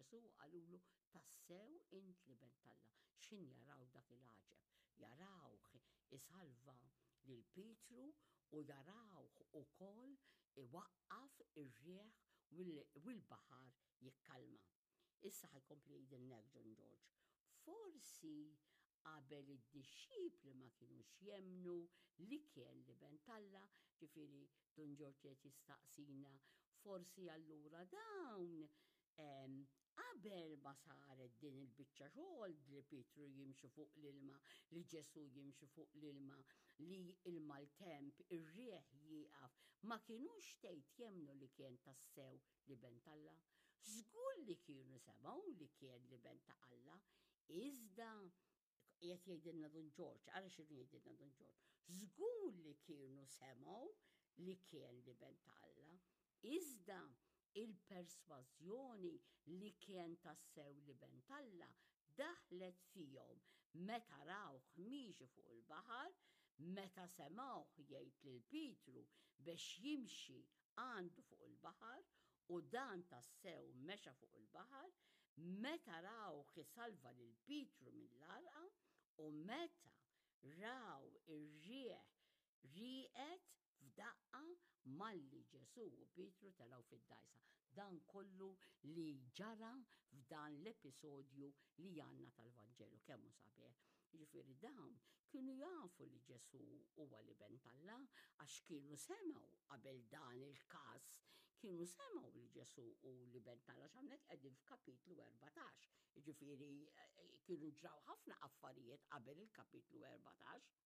Ġesù u qalulu, Tassew int l-Iben t'Alla. X'ħin jaraw dak il-għaġeb? Jarawh isalva lil Pietru u jarawh ukoll iwaqqaf ir-riħ u l-baħar jikkalma. Issa ħa jkompli jgħidilna hekk John George. Forsi qabel id-dixxipli ma kinux jemmnu li kien l-Iben t'Alla, ġifieri Dun Ġorġ qed jistaqsina, forsi allura dawn qabel ma saret din il-biċċa xogħol li Pietru jimxi fuq l-ilma, li Ġesù jimxi fuq l-ilma, li il-maltemp, ir-riħ jieqaf, ma kinux tgħid jemmnu li kien tassew l-Iben t'Alla? Żgur li kienu semgħu li kien l-Iben ta' Alla, iżda qiegħed jgħidilna Dun Ġorġ, ara x'inhu jgħidilna Dun Ġorġ. Żgur li kienu semgħu li kien l-Iben ta' Alla, iżda il-persważjoni li kien tassew l-Iben t'Alla daħlet fihom meta rawh miexi fuq il-baħar, meta semgħuh jgħid lil Pietru biex jimxi għandu fuq il-baħar u dan tassew mexa fuq il-baħar, meta rawh isalva lil Pietru mill-għarqa u meta raw ir-riħ rieqed f'daqqa malli Ġesù u Pietru telgħu fid-dgħajsa. Dan kollu li ġara f'dan l-episodju li għandna tal-Vanġelu. Kemm hu sabiħ. Jiġifieri dawn kienu jafu li Ġesù huwa l-Iben t'Alla għax kienu semgħu qabel dan il-każ, kienu semgħu li Ġesù hu l-Iben t'Alla għax hawnhekk qegħdin f'kapitlu 14. Jiġifieri eh, kienu ġraw ħafna affarijiet qabel il-kapitlu 14.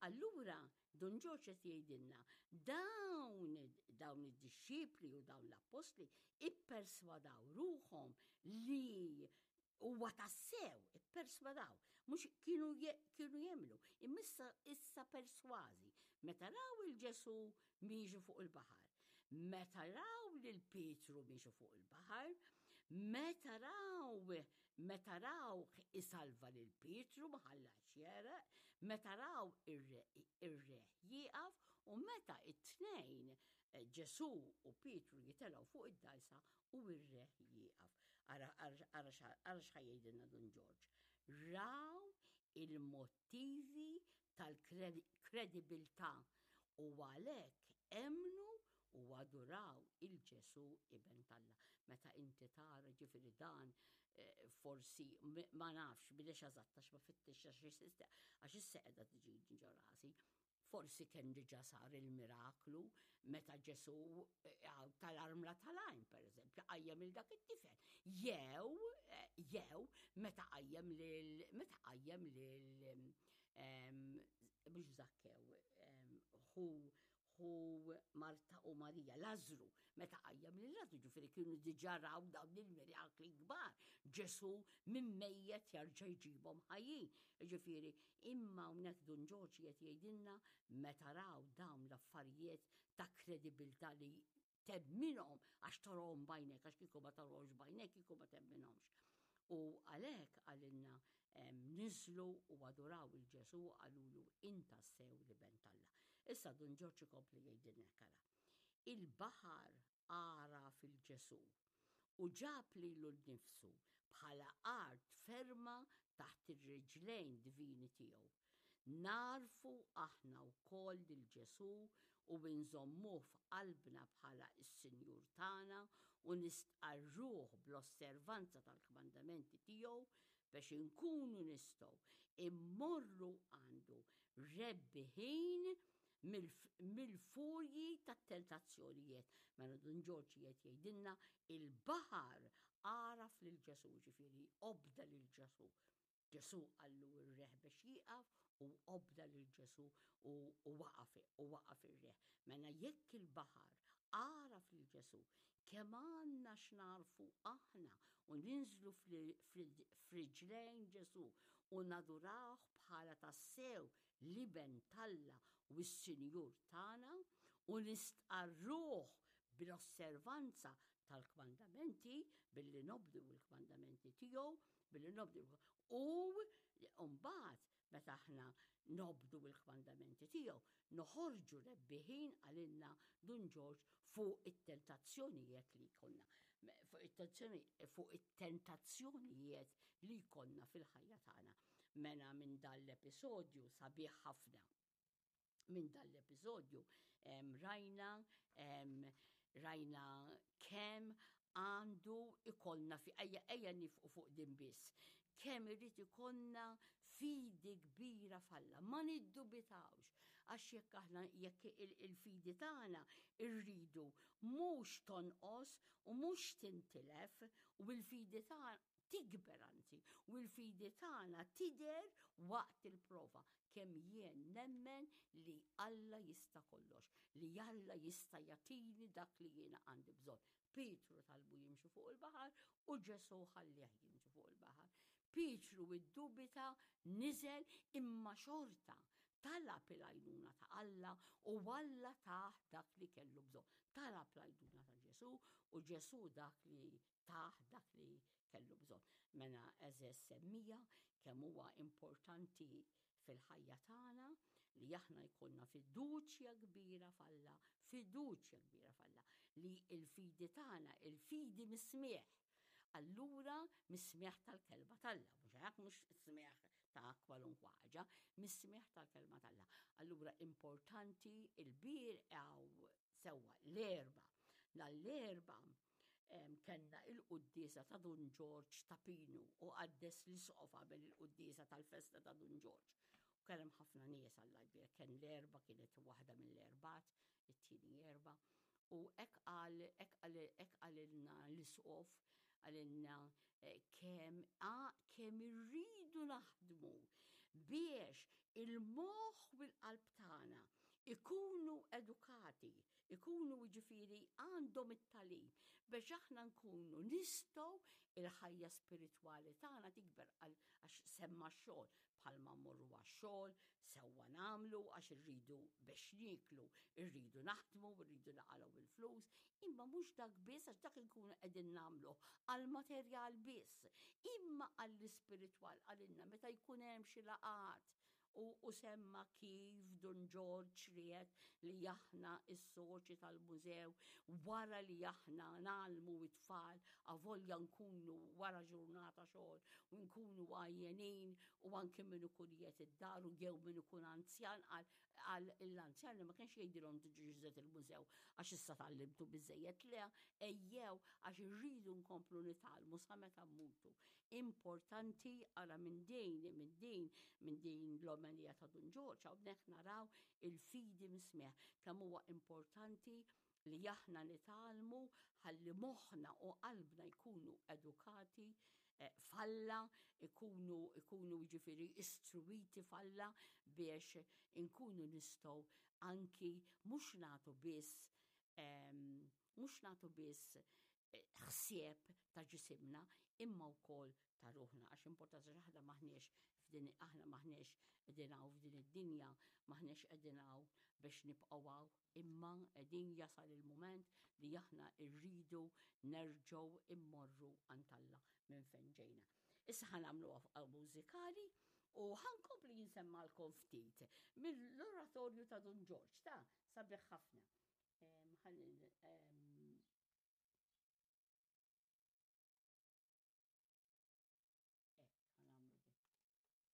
Allura, Dun Ġorġ qed jgħidilna dawn dawn id-dixxipli u dawn l-appostli ipperswadaw ruħhom li huwa tassew ipperswadaw, mhux kienu kienu jemmnu, imma issa issa persważi meta raw il-Ġesù miexi fuq il-baħar, meta raw lil Pietru miexi fuq il-baħar, meta raw Meta rawh isalva lil Pietru ma ħallahx jegħreq, meta raw ir-riħ jieqaf u meta t-tnejn eh, Ġesù u Pietru jitelgħu fuq id-dgħajsa u r-riħ jieqaf. Ara x'ħa jgħidilna Dun Ġorġ. Raw il-motivi tal-kredibilità u għalhekk emmnu u aduraw il Ġesù Iben t'Alla. Meta inti tara ġifieri dan eh, forsi ma nafx bilex eżatt għax ma fittix għax issa qiegħda tiġi ġo rasi. Forsi kien diġà sar il-miraklu meta Ġesù eh, tal-armla tal-għajn, per eżempju, qajjem il dak it-tifel. Jew, eh, jew meta qajjem lil meta qajjem lil mhux Zakkew, hu hu Marta u Marija, Lażru, meta qajjem lil Lażru, ġifieri kienu diġà raw dawn il-mirakli kbar. Ġesù minn mejjet jarġa' jġibhom ħajjin. Ġifieri, imma hawnhekk Dun Ġorġ qed jgħidilna meta raw dawn l-affarijiet ta' kredibilità li temminhom għax tarahom b'għajnek, għax kieku ma tarahomx b'għajnek, kieku ma temminhomx. U għalhekk għalinna niżlu u aduraw il-Ġesu qalulu inta sew li ben t'Alla. Issa Dun Ġorġ ikompli jgħidilna kara. Il-baħar għara fil-Ġesu u ġab lilu nnifsu bħala art ferma taħt ir-riġlejn divini tiegħu. Nagħrfu aħna wkoll lil Ġesù u nżommuh f'qalbna bħala s-Sinjur tagħna u nistqarruh bl-osservanza tal-kmandamenti tiegħu biex inkunu nistgħu immorru għandu rebbiħin mill-furji tat-tentazzjonijiet. Mela Dun Ġorġ qiegħed jgħidilna il-baħar għaraf lil Ġesù, ġifieri obda lil Ġesù. Ġesù qallu r-riħ biex jieqaf u obda lil Ġesù u waqaf u waqaf ir-riħ. Mela jekk il-baħar għaraf lil Ġesù, kemm għandna x'nagħrfu aħna u ninżlu f'riġlejn Ġesù u nadurawh bħala tassew l-Iben t'Alla u s-Sinjur tagħna u nistqarruh bl-osservanza tal-kmandamenti billi nobdu l-kmandamenti tiegħu billi nobdu u mbagħad meta aħna nobdu l-kmandamenti tiegħu noħorġu rebbiħin għalilna Dun Ġorġ fuq it-tentazzjonijiet li jkollna. It-tentazzjoni fuq it-tentazzjonijiet li jkollna fil-ħajja tagħna. Mela minn dan l-episodju sabiħ ħafna. Minn dan l-episodju rajna rajna kemm għandu ikollna fi ejja ejja nifqu fuq din biss. Kemm irid ikollna fidi kbira f'Alla, ma niddubitawx għax jekk aħna jekk il-fidi tagħna rridu mhux tonqos u mhux tintilef u l-fidi tagħna tikber anzi u l-fidi tagħna tidher waqt il-prova kemm jien nemmen li Alla jista' kollox, li Alla jista' jagħtini dak li jiena għandi bżonn. Pietru talbu jimxi fuq il-baħar u Ġesù ħallih jimxi fuq il-baħar. Pietru iddubita, niżel imma xorta talab il-għajnuna ta' Alla u Alla tah dak li kellu bżonn. Talab l-għajnuna ta' Ġesù u Ġesù dak li tah dak li kellu bżonn. Mela għeżież semmija kemm huwa importanti fil-ħajja tagħna li aħna jkollna fiduċja kbira f'Alla, fiduċja kbira f'Alla, li l-fidi tagħna, il-fidi mis-smigħ. Allura mis-smigħ tal-kelma t'Alla, mhux hekk mhux smigħ ta' kwalunkwa ħaġa, mis-smigħ tal-kelma t'Alla. Allura importanti il-bir għaw sewwa l-erba. Nhar kellna il-quddiesa ta' Dun Ġorġ ta' Pinu u qaddes l-isqof għamel il-quddiesa tal-festa ta' Dun Ġorġ. U kien hemm ħafna nies Alla jbierek, kien l-erba kienet waħda mill-erbat, it-tieni erba. U hekk qal, hekk qal, hekk qalilna l-isqof, qalilna eh, kemm kemm irridu naħdmu biex il-moħħ u l-qalb tagħna ikunu edukati, ikunu jiġifieri għandhom it-tagħlim biex aħna nkunu nistgħu il-ħajja spiritwali tagħna tikber għax semma x-xogħol bħalma mmorru għax-xogħol, sewwa nagħmlu għax irridu biex nieklu, irridu naħdmu, irridu naqalgħu il-flus, imma mhux dak biss għax dak inkunu qegħdin nagħmlu għall-materjal biss, imma għall-ispiritwal għalilna meta jkun hemm xi laqgħat U u semma kif Dun Ġorġ ried li aħna s-soċi tal-mużew wara li aħna ngħallmu t-tfal avolja nkunu wara ġurnata xogħol u nkunu għajjenin u anke min ikun qiegħed id-dar u jew min ikun anzjan qal qal l-anzjani ma kienx jgħidilhom tiġux iżjed il-mużew għax issa tgħallimtu biżżejjed le ejjew għax irridu nkomplu nitgħallmu sa meta mmutu. Importanti ara minn din, minn din, minn din l-omelija ta' Dun Ġorġ hawnhekk naraw il-fidi mis-smigħ kemm huwa importanti li aħna nitgħallmu ħalli moħħna u qalbna jkunu edukati eh, f'Alla, ikunu ikunu jiġifieri istruwiti f'Alla biex inkunu nistgħu anki mhux nagħtu biss ehm, mhux nagħtu biss ħsieb ta' ġisimna imma wkoll ta' ruħna għax importanti għax aħna m'aħniex f'din aħna m'aħniex qegħdin hawn f'din id-dinja, m'aħniex qegħdin hawn biex nibqgħu hawn, imma qegħdin jasal il-mument li aħna rridu nerġgħu immorru għand Alla minn fejn ġejna. Issa ħa nagħmlu mużikali u ħa nkompli jinsemmalkom ftit mill-oratorju ta' Dun Ġorġ ta' sabiħ ħafna. Ħalli.